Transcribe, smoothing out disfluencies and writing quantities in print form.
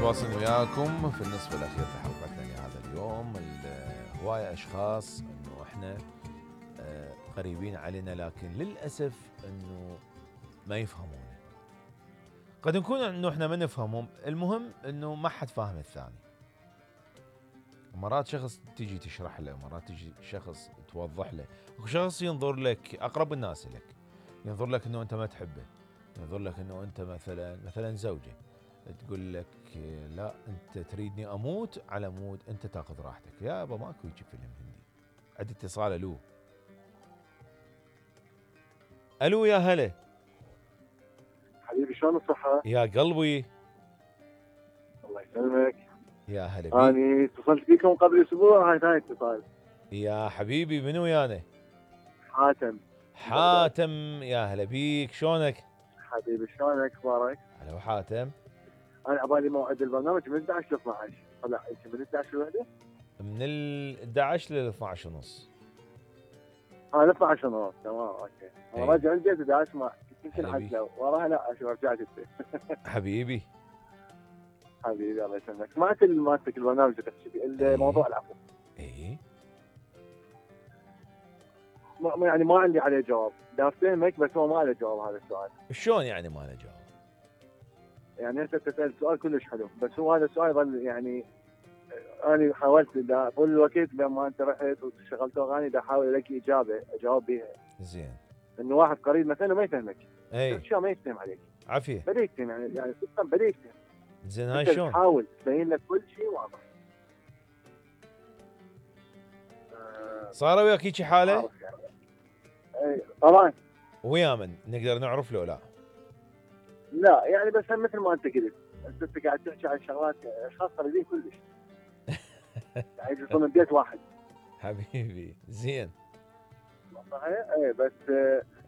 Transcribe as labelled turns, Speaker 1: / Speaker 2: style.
Speaker 1: متواصلين وياكم في النصف الاخير في حلقتنا لهذا اليوم. هواية اشخاص انه احنا قريبين علينا لكن للاسف انه ما يفهمون. قد نكون انه احنا ما نفهمهم، المهم انه ما حد فاهم الثاني. مرات شخص تجي تشرح له، مرات تجي شخص توضح له، وشخص ينظر لك اقرب الناس لك، ينظر لك انه انت ما تحبه، ينظر لك انه انت مثلا زوجه، تقول لك لا انت تريدني اموت على مود انت تاخذ راحتك. يابا ماكو هيك فيلم هندي. عندي اتصال. الو يا هلا
Speaker 2: حبيبي، شلون الصحة؟
Speaker 1: يا قلبي.
Speaker 2: الله يسلمك.
Speaker 1: يا هلا بيك.
Speaker 2: أنا اتصلت فيكم قبل أسبوع، هاي ثاني اتصال.
Speaker 1: يا حبيبي منو يانا؟
Speaker 2: حاتم.
Speaker 1: يا هلا بيك، شلونك؟
Speaker 2: حبيبي شلونك، أخبارك؟
Speaker 1: هلا حاتم.
Speaker 2: أنا عبالي موعد البرنامج من 11 ل 12، طلع أنت من 11 لوحدة؟
Speaker 1: من ال 11 لل 12 ونص.
Speaker 2: ل 12 ونص، تمام أوكي. أنا راجع البيت بدي أسمع، يمكن
Speaker 1: هلا بيك.
Speaker 2: حتى وراها لا أشوف رجعت البيت.
Speaker 1: حبيبي
Speaker 2: حبيبي الله يسلمك. سمعت مالتك البرنامج اللي تحكي فيه الموضوع العفو.
Speaker 1: اي
Speaker 2: يعني ما عندي عليه جواب، بدي أفهمك بس هو ما له جواب هذا السؤال.
Speaker 1: شلون يعني ما له جواب؟
Speaker 2: يعني أنت تسأل سؤال كلش حلو، بس هو هذا السؤال يظل يعني أنا حاولت دا طول الوقت لما أنت رحت وشغلت أغاني دا أحاول ألاقي إجابة أجاوب بيها.
Speaker 1: زين.
Speaker 2: إنه واحد قريب مثلا ما يفهمك.
Speaker 1: اي
Speaker 2: أشياء ما يفهم عليك.
Speaker 1: عافية.
Speaker 2: بدي يفهم يعني تفهم بدي يفهم.
Speaker 1: زين هاي
Speaker 2: أنت
Speaker 1: شلون؟
Speaker 2: تحاول تبين لك كل شيء واضح.
Speaker 1: صار وياك هيجي حالة؟
Speaker 2: إيه طبعا.
Speaker 1: ويا من نقدر نعرف له لا؟
Speaker 2: لا يعني بس مثل ما أنت قلت، أنت قاعد تحكي عن شغلات أشخاص قريبين كلش. يعني يجلسون من بيت واحد.
Speaker 1: حبيبي زين.
Speaker 2: صحيح؟ إيه بس